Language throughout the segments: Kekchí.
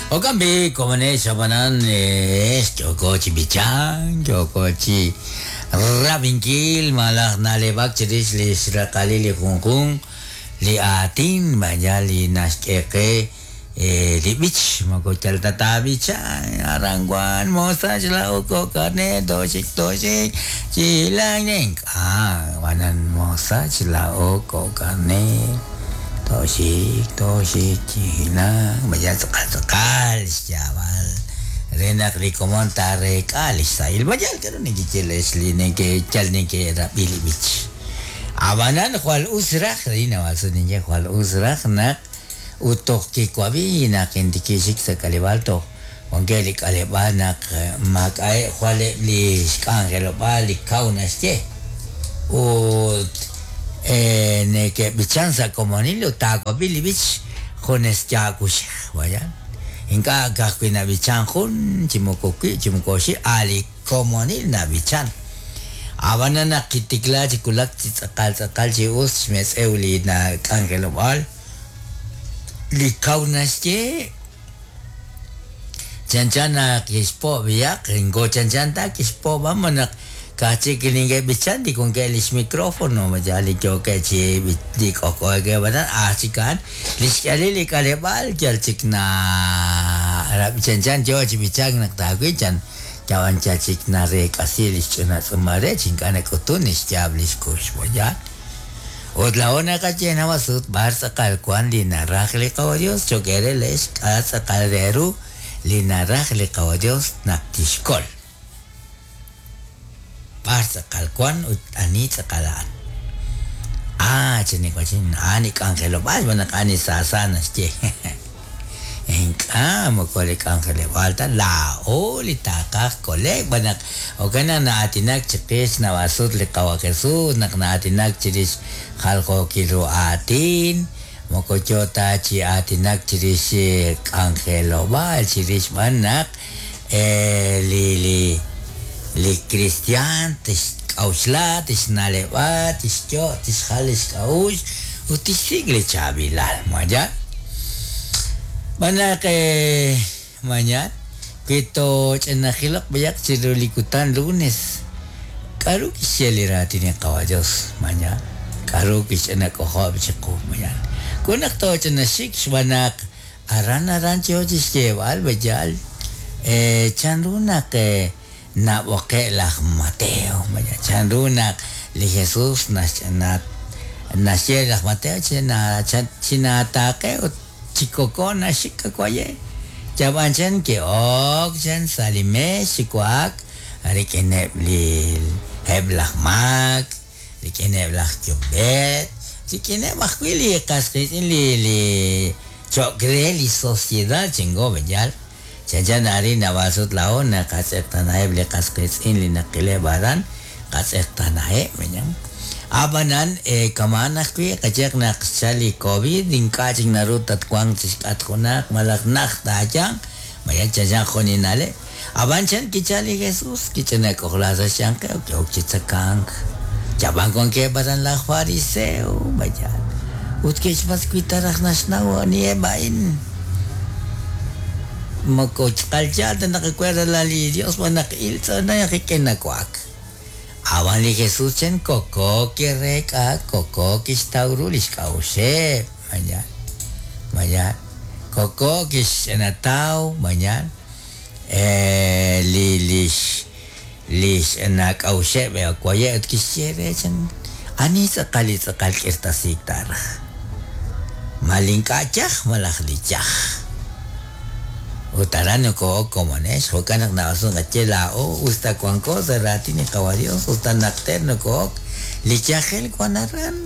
Jo'kan b'i' komonex ab'anan ex yooko chi b'ichank, yooko chi rab'inkil malaj na'leb'ak chirix li xraqalil li junjunq li aatin maya li naxk'e qe li b'ich moko yal ta taab'icha aran wan mosach laa'o kok' karneer tooxik tooxik chi hilank ink'a' ab'anan mosach laa'o kok' karneer tooxik tooxik chi hilank maya tz'aqal tz'aqal xyaab'al re naq li komon taareek'a li xsahil mayal k'aru nekeye leex li yal neke'rab'i li b'ich ab'anan jwal us raj rin ninye jwal us raj naq ut toj kiwab'i naq intikixik sa' k'aleb'aal toj wankeb' li k'aleb'aal naq maak'a'eb' jwal eb' li xk'anjelob'aal li kaw naxye ut neke'b'ichan sa' komonil ut taawab'i li b'ich junes yaawuxej vaya ink'a' ka'ajwi' nab'ichan jun chi moko wib' chi moko oxib' a' li komonil nab'ichan ab'anan naq kitikla chi wulak chi tz'aqal tz'aqal chi us xmetz'ew li nak'anjelob'aal li kaw naxye chanchan naq kixpo' b'iyaq inko chanchan ta kixpo' b'an naq ka'aj chik neke'b'ichan li wankeb' li xmicrófono ya li yookeb' chi li k'ojk'ookeb' aran aj chik a'an li xk'ihalil li k'aleb'aal yal chik na chanchan yo chi b'ichank naq taawil chan yab'an yal chik nareek'asi li xch'ina tz'uumal re chi ink'a' nak'utun li xyaab' li xkux ya ut laa'o naqaye nawasut b'ar tz'aqal wan li naraj li qawa Dios cho'q eere leex k'a' tz'aqal re ru li naraj li qawa Dios naq tixkol b'ar tz'aqal wan ut ani tz'aqal a'an ah chiniwachin a'an li k'anjelob'aal xb'aan naq a'an li saasa naxye ink'a' moko li k'anjelob'aal ta laa'o li taaqaj kole'k b'an naq jo'kan naq na'aatinak chiqix nawasut li qawa Jesús naq na'aatinak chirix jaljookil ru aatin moko yo ta chi aatinak chirix k'anjelob'aal chirix b'an naq li li li cristian tixk'a'uxla tixna'leb'a tixyo' tixjal li xk'a'uxl ut tixsik' li chaab'ilal maya b'an naq mañana wi tooch'inajilaq b'ayaq chiru li kutan lunes k'aru kixye li raatin li qawa Dios mañana k'aru kixch'ina k'ojob' chiqu mañana ku naq tooch'inaxik xb'aan naq aran aran yo chi xyeeb'al b'ayal chanru naq nab'oqe' laj Mateo maya chanru naq li Jesús naxch'ina naxye laj Mateo chinaataaqe ut chikoko naxik kawaye yab'an chan ke'ok chan sa' li meex chi wa'ak rik'ineb' li eb' laj maak rik'ineb' laj yumb'eet rik'ineb' ajwi' li qas qiitz'in li li cho'q re li sociedad chingo b'ayal chanchan arin nawasut laa'o naqatz'eqtanaheb' li qas qiitz'in li naqileb' aran qatz'eqtanaheb' mañan ab'anan kama'an ajwi' qayeq naq xchal li COVID ink'a' chik naru tatwanq chi xk'atq junaq malaj naj taayanq maya chanchan jun li na'leb' ab'an chan kichal li Jesús kich'ina k'ojla sa' xyanqeb' ki'ok chi tzakank yab'an wankeb' aran laj fariseo mayal ut ke'xpatz' wi ta raj naxnaw aniheb' a'in moko tz'aqal yaal ta naq acuerda li Dios b'an naq il tz'anay rik'in nawa'ak ab'an li Jesús chan koko kireek'a koko kixtaw ru li xk'a'uxeb' mañan mañan koko kixch'inataw mañan li lix lix nak'a'uxeb' waye' ut kixye re chan ani tz'aqal li tz'aqal k'irtasiik taaraj ma li ink'a' yaj malaj li yaj ut aran noko'ok komonex jo'kan naq na'asun qaye laa'o usta wanko sa' raatin li qawa Dios usta naqter noko'ok li yajel wan aran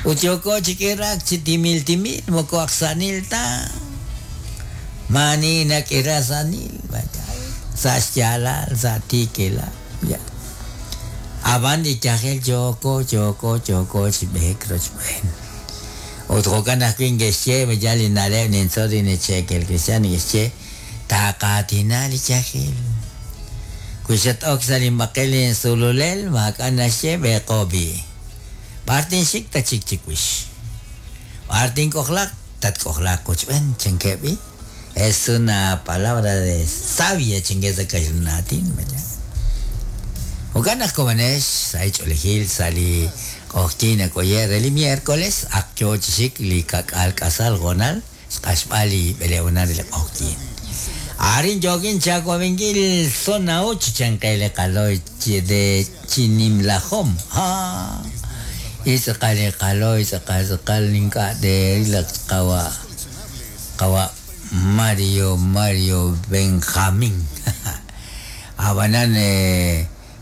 ut yooko chi k'iraak chi timil timil moko aj sa'nil ta maani nak'ira sa'nil sa' xyaalal sa' tiikilal ya ab'an li yajel yooko yooko yooko chi b'eek rochb'een ut jo'kan ajwi' nke'xye ya li na'leb' nintzol li neche'kel cristian neke'xye taaqaatina li yajel wi xat'ok sa' li mb'aqel insululel maak'a' naxye b'eeqo b'i' b'ar tinxik ta chik chiwix b'ar tink'ojlaq tatk'ojlaaq qochb'een chankeb' b'i' Es una palabra de sabia chingue sa kaxlan aatin. Jo'kan naq komonex sa' li ch'oolejil sa' li q'oqyink nak'oye' re li miércoles ak yoo chi xik li kak'al k'asal hoonal xq'axb'al li b'eleonal re li q'oqyink. Arin yookin chaawabinkil zona 8 chanqe li qaloy de Chinimlajom. Ha. Itz'aqal li qaloy tz'aqal tz'aqal ink'a' teerilaq qawa' qawa' Mario Mario Benjamín. Ab'anan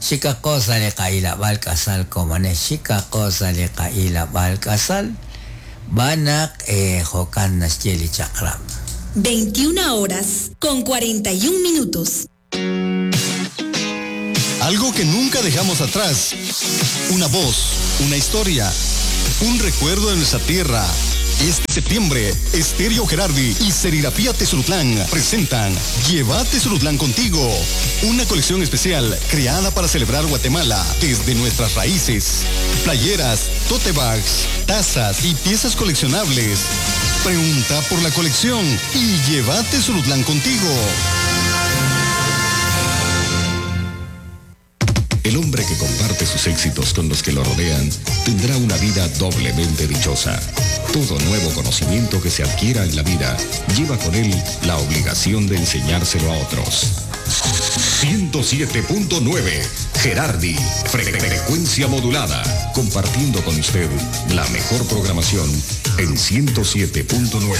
xikaqo sa' li qa'ilab'al k'asal komonex xikaqo sa' li qa'ilab'al k'asal b'an naq jo'kan naxye li chaq'rab'. 21 horas con 41 minutos. Algo que nunca dejamos atrás. Una voz, una historia, un recuerdo de nuestra tierra. Este septiembre, Estéreo Gerardi y Serigrafía Tezulutlán presentan Llévate Tezulutlán contigo, una colección especial creada para celebrar Guatemala desde nuestras raíces. Playeras, tote bags, tazas y piezas coleccionables. Pregunta por la colección y llévate Tezulutlán contigo. El hombre que comparte sus éxitos con los que lo rodean tendrá una vida doblemente dichosa. Todo nuevo conocimiento que se adquiera en la vida lleva con él la obligación de enseñárselo a otros. 107.9 Gerardi, frecuencia modulada, compartiendo con usted la mejor programación en 107.9.